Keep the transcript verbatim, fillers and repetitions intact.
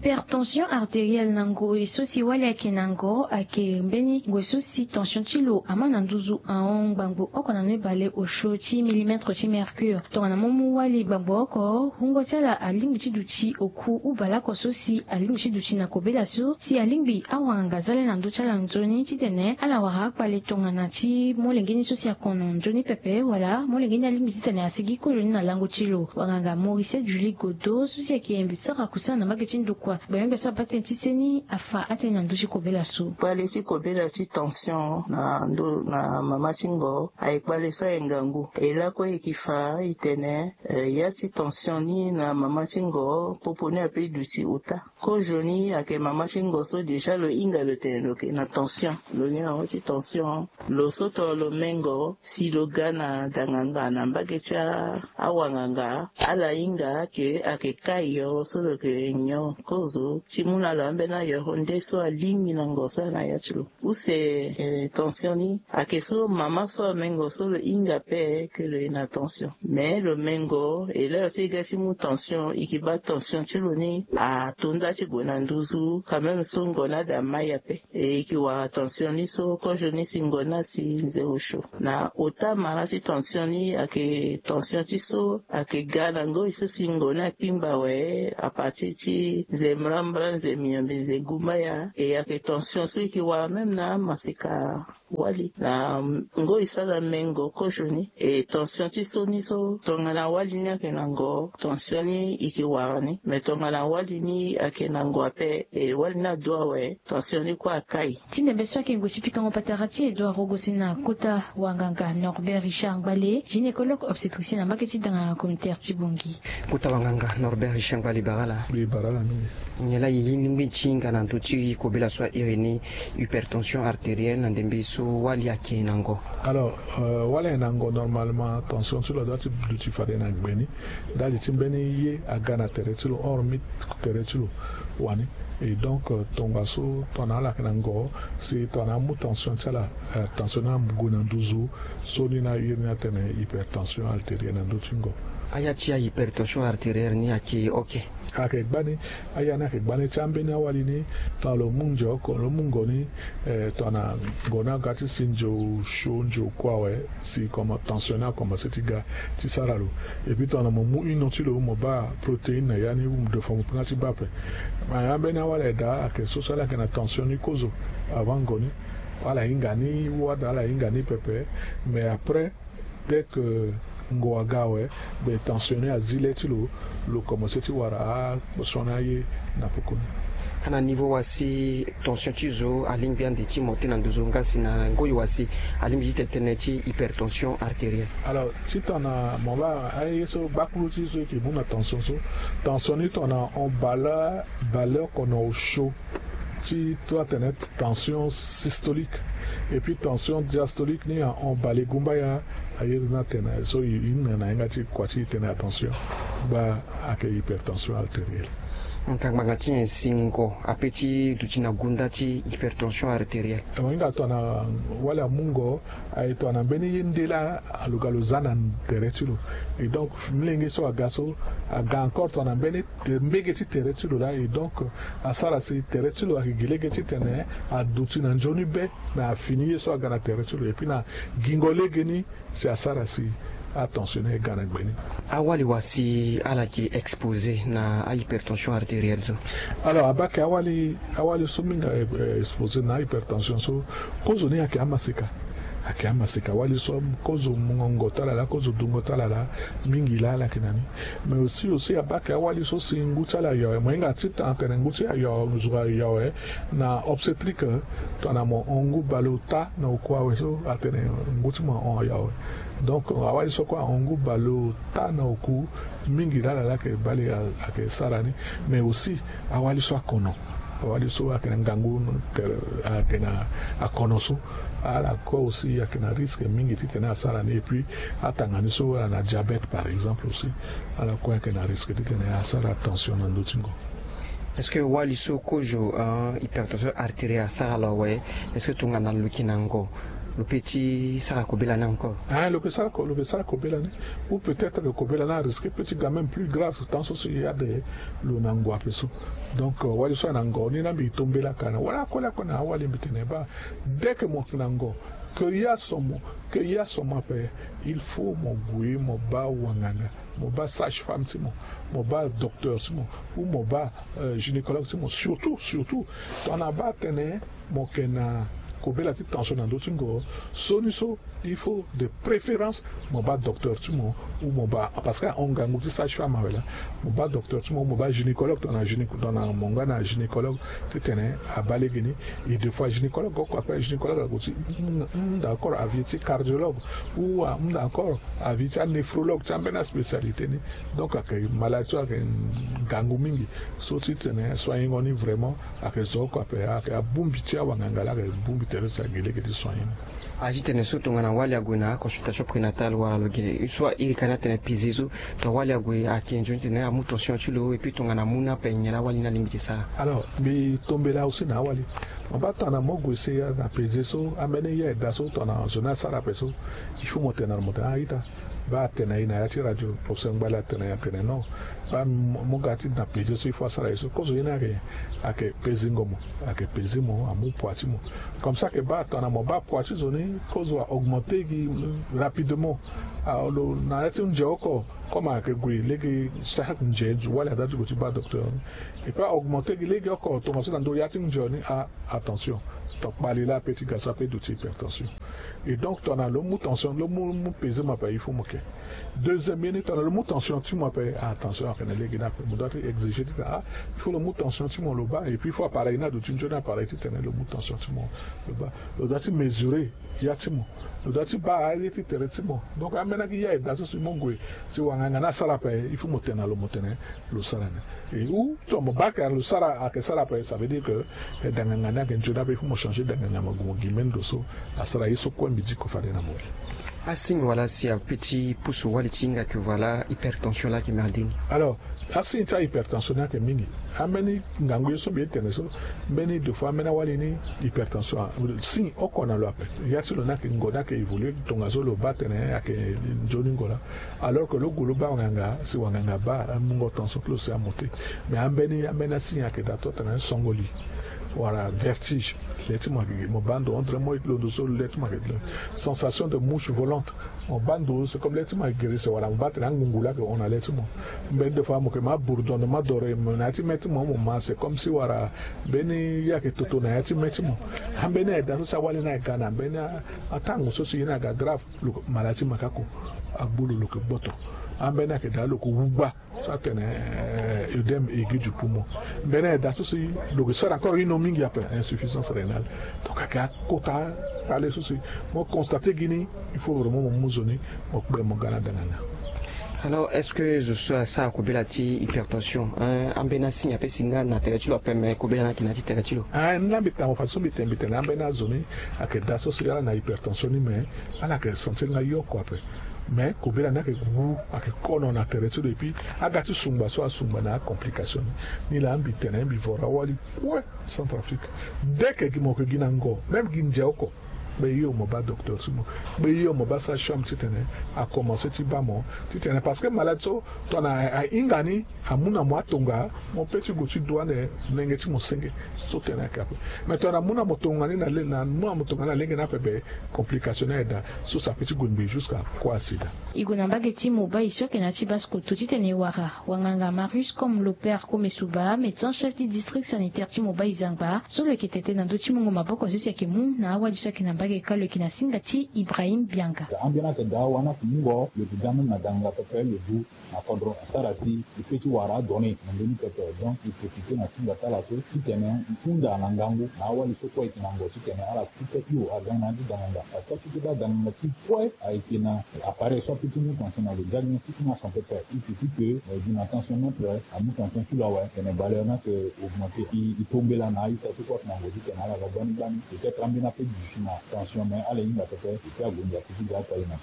Hypertension artérielle na ngoi so si wali ayeke na ngo ayeke mbeni ngoi so si tension ti lo ama na nduzu ahon ngbangbo oko na noe baleosio ti millimètre ti mercure. Tongana mo mu wali ngbangbo oko, wungo ti ala alingbi ti duti oku ubaleoko so si alingbi ti duti na kobela so si alingbi awanganga za le na ndö ti ala nzoni titene ala wara akpale tongana ti molenge ni so si akono nzoni pepe wala molenge ni alingbi titene asigi kozo ni na lango ti lo. Wanganga Maurice Julie Godo so si ayeke yembi sara kusana na mbage ti ndokua gbengbe so abaa tënë ti seni afa atënë na ndö ti kobela so. Kpale ti kobela ti tension na ndö na mama ti ngo aye kpale so aye ngangu. E lakue e ke fa e tene, eh, ya ti tension ni na mama ti ngo popo ni ape e duti ota. Kozo ni ayeke mama ti ngo so déjà lo hinga lo tene lo yeke na tension, lo nyon yango ti tension. Lo so tongana lo mengo si lo ga na danganga na mbage ti a- awanganga, ala hinga ake ake kai yo so lo yeke nyon kozo ti mu na lo ambeni ayoro nde so alingbi na ngo so ana ya ti lo. Use, eh, tension ni ayeke so mama so amengo so lo hinga ape ke lo ye na tension. Mais lo mengo e laa lo so e ga ti mu tension e ke baa tension ti lo ni ato nda ti gue na nduzu quand même so ngo ni ada mai ape. E ke wara tension ni so kozo ni si ngo ni asi nze osio. Na ota mara ti tension ni ayeke tension ti so ayeke ga na ngoi so si ngo ni akpingba awe, à partir ti nze mbrambra, nze miombe, nze gumbaya. E ayeke tension so e ke wara même na amaseka wali na ngoi so ala mengo kozo ni. E tension ti so ni so tongana wali ni ayeke na ngo, tension ni e ke wara ni. Mais tongana wali ni ayeke na ngo ape, e wali ni adu awe, tension ni kue akai. Ti ndembe so ayeke ngoi ti pikango patara ti Edouard Rogosi na kota wanganga Norbert Richard Ngbale, gynécologue obstétricien na mbage ti danganga communautaire ti Bangui. Kota wanganga Norbert Richard Ngbale, bara ala. Mbi bara ala mingi. Nyen laa e lingbi ti hinga na ndö ti kobela so a iri ni hypertension artérielle na ndembe so wali ayeke na ngo? Alors, euh, wali ayeke na ngo, normalement tension ti lo adoit ti duti fade na gbe ni. Ndali ti mbeni ye aga na tere ti lo, hormis tere ti lo wani. Et donc, euh, tongaso tongana ala yeke na ngo, si tongana amu tension ti ala, euh, tension ni ague na nduzu, so ni na iri ni atene hypertension artérielle na ndö ti ngo. Aya ti ahypertension artérielle ni ayeke oke? Ayeke gbani. Aya ni ayeke gbani ti ambeni awali ni. Tongana lo mu nze oko, lo mu ngo ni, eh, tongana ngo ni aga ti si nze osio, nze oku awe, si comme tension ni akomanse ti ga ti sara lo. Et puis tongana mo mu ino ti lo, mo baa protéine na ya ni, ou mo de fois mo kpinga ti baa ape. Mais ambeni awali aye daa ayeke so so ala yeke na tension ni kozo avant ngo ni. Ala hinga ni wade, ala hinga ni pepe. Mais après, dès que ngo aga awe, be tension ni azi le ti lo, lo komanse ti wara akposion ni aye na poko ni. Ana niveau wa si tension ti zo alingbi ande ti monter na nduzu nga si na ngoi wa si alingbi ti tene tënë ti hypertension artérielle? Alors, ti tongana mo baa aye so, gbakulu ti zo e ke mu na tension so, tension ni tongana ahon baleoko na osio ti to atene tension systolique. Et puis tension diastolique ni ahon balegumbaya. Aye ni atene so e hinga na yanga ti kua ti e tene attention, gba ayeke hypertension artérielle. Ngangbanga ti nyen si ngo ape ti duti na gunda ti hypertension artérielle? Mo hinga tongana wali amu ngo, aye tongana mbeni ye nde laa lo ga lo za na tere ti lo. Et donc, molenge so aga so, aga encore tongana mbeni te- mbege ti tere ti lo laa. Et donc, asara si tere ti lo ayeke gi lege titene aduti na nzoni be na fini ye so aga na tere ti lo. Et puis na gingo legeni si asara si atension ni aga na gbe ni. Awali wa si ala yeke exposé na ahypertension artérielle so? Alors, abaa ayeke awali, awali so mingi, eh, exposé na hypertension so, kozo ni ayeke amaseka. Ayeke amaseka. Awali so kozo mungo ti ala laa, kozo dungo ti ala laa, mingi laa ala yeke na ni. Mais aussi, aussi abaa ayeke awali so si ngu ti ala ayo awe. Mo hinga ti tene ngu ti ala ayo, zo ayo awe, na obstétrique, tongana mo hon ngu baleota na oku awe so, atene ngu ti mo ahon ayo awe. Donc awali so kue ahon ngu baleota na oku, mingi laa ala laa ayeke bale, ayeke sara ni. Mais aussi awali so akono, awali so ayeke na ngangu tere, ayeke na akono so, ala kue aussi ayeke na risque mingi titene asara ni. Et puis atanga ni so ala na diabète par exemple aussi, ala kue ayeke na risque titene asara tension na ndö ti ngo. Est-ce que wali so kozo, euh, hypertension artérielle asara lo awe, est-ce que tongana lo yeke na ngo, Lo pe ti sara kobela ni encore. Ah, lo pe sara ko- lo pe sara kobela ni. Ou peut-être que kobela ni arisque pe ti ga même plus grave tant so si e ade lo na ngu ape so. Donc wali so ayeke na ngo ni na mbi e tombela ka na wala akoli akoli na awali mbi tene baa, dès que mo yeke na ngo, que ya so mo, que ya so mo ape, il faut mo gue mo baa wanganga, mo baa sage-femme ti mo, mo baa docteur ti mo, ou mo baa gynécologue ti mo. Surtout surtout tongana baa tene mo yeke na kobela ti tension na ndö ti ngo, so ni so il faut de préférence mo baa docteur ti mo, ou mo baa, parce que ahon ngangu ti sage-femme awe laa. Mo baa docteur ti mo ou mo baa gynécologue tongana gynéco- tongana mo nga na gynécologue titene abaa lege ni. Et des fois gynécologue oko ape, gynécologue ague ti hunda encore avis ti cardiologue, ou ahunda encore avis ti anéphrologue ti ambeni aspécialité ni. Donc ayeke maladie so ayeke ngangu mingi so titene soignengo ni vraiment ayeke zo oko ape, ayeke abongbi ti awanganga laa ayeke bongbi tere so ayeke gi lege ti soignengo. Azi tene so tongana wali ague na aconsultation prénatale wala lo gi so iri ka ni atene pese so, tongana wali ague ayeke nzoni titene amu tension ti lo et puis tongana amu ni ape nyen laa wali ni alingbi ti sara? Alors mbi tombela aussi na awali. Mo baa tongana mo gue si na pese so ambeni ya eda so tongana zo ni asara ape so, il faut mo tene na lo mo tene a ita, baa atene na e na ya ti radio professeur Ngbale atene atene non, baa mo ga ti na pese so il faut asara ye so kozo ye ni ayeke, ayeke pesingo mo, ayeke pesi mo amu poids ti mo. Comme ça ayeke baa tongana mo baa poids ti zo ni kozo a augmenter gi rapidement. Alors na ya ti nze oko comme ayeke gue lege chaque nze wali adaa ti gue ti baa docteur ni. Et puis a augmenter gi lege oko tongaso na ndö ya ti nze ni a attention, to kpali laa ape ti ga so ape duti hypertension. Et donc tongana lo mu tension lo mu mu pese mo ape il faut mo ke. Deuxième ye ni tongana lo mu tension ti mo ape, attention ayeke na lege ni ape mo doit ti exiger titene ah, il faut lo mu tension ti mo lo baa. Et puis il faut appareil ni aduti nzoni appareil titene lo mu tension ti mo lo baa. Lo doit ti mesurer ya ti mo, lo doit ti baa aye ti tere ti mo. Donc ambeni agi ya eda so si mo gue si wanganga ni asara ape il faut mo tene na lo mo tene lo sara ni. Et ou so mo baa ayeke lo sara ayeke sara ape ça veut dire que danganga ni ayeke nzoni ape il faut mo changer danganga mo gue mo gi mbeni ndo so asara ye so kue mbi diko fade na mo. Asigne wala si ape ti pusu wali ti hinga ke voilà hypertension laa ayeke merde ni. Alors asigne ti ahypertension ni ayeke mingi. Ambeni ngangu ye so mbi ye tene so mbeni deux fois ambeni awali ni hypertension. Signe oko na lo ape. Ya ti lo ni ayeke ngo ni ayeke évoluer tongaso lo baa tene ayeke nzoni ngo laa. Alors que lo gue lo baa wanganga si wanganga baa amungo tension ti lo si amonter. Mais ambeni ambeni asigne ayeke daa to atene songo li wala vertige. Le ti mo ayeke mo baa ndo on dirait mo ye ti londo so le ti mo ayeke sensation de mouche volante. Mo baa ndo c'est comme le ti mo ayeke gere se wala mo baa tene angungu laa ayeke hon na le ti mo. Mbeni deux fois mo yeke ma bourdonnement d'oreille mo na ya ti me ti mo mo ma c'est comme si wala mbeni ye ayeke toto na ya ti me ti mo. Ambeni aye daa so si awali ni aye ga na mbeni atango so si ye ni aga grave. Lo yeke maladie ti makako. Agbu lo lo yeke gboto. Ambeni ayeke daa lo yeke wugba so atene œdème aigu du poumon. Mbeni aye daa so si lo yeke sara encore hino mingi ape insuffisance rénale. Donc ayeke akota kpale so si mo constate gi ni. Il faut vraiment mo mu zo ni mo kpe mo ga na danganga. Alors est-ce que zo so asara kobela ti hypertension ambeni asigne ape si nga na tere ti lo ape me kobela ni ayeke na ya ti tere ti lo? Ni laa mbi tene mo fa so mbi tene mbi tene ambeni azo ni ayeke daa so si ala na hypertension ni me ala yeke sentir nga yoko ape. Mais kobela ni ayeke wu ayeke kono na tere ti lo et puis aga ti sungba so asungba na acomplication ni. Ni laa mbi tene mbi vora awali kue Centrafrique. Dès que gi mo yeke gi na ngo même gi nze oko, kpe hio mo baa docteur ti mo. Kpe hio mo baa sage-femme titene akomanse ti baa mo titene parce que maladie so tongana ahinga ni amu na mo atonga mo pe ti gue ti dua ande lenge ti mo senge. So tene ayeke ape. Mais tongana amu na mo tonga ni na le na amu na mo tonga ni na lenge ni ape be complication ni aye daa. So si ape ti gue ngbii jusqu'à kua sida. E gue na mbage ti mo baa e so ayeke na ya ti base koto titene e wara wanganga Marius Comme Lopère Komesuba, médecin chef ti district sanitaire ti mo baa e zangba so lo yeke tete na ndö ti mungo maboko so si ayeke mu na awali so ayeke na mbage kâ lo yeke na singa ti Ibrahim Bianga. Ambeni ayeke daa wani ayeke mungo lo yeke ga même na danganga pepe lo du na kodro asara si e pe ti wara adonnée na ndö ni pepe. Donc e profiter na singa ti ala so titene e hunda na ngangu na awali so kue ayeke na ngo titene ala ti pe hio aga na ya ti danganga parce que a ti pe baa danganga ti kue ayeke na appareil so ape ti mu tension na lo diagnostic ni ason pepe. Il suffit que e gi na tension mètre amu tension ti lo awe tene valeur ni ayeke augmenter. E tombela na a-ita so kue ayeke na ngo titene ala ga gbani gbani. Peut-être ambeni ape duti na tension mais ala hinga pepe. E pe ague nzaki ti ga akpali na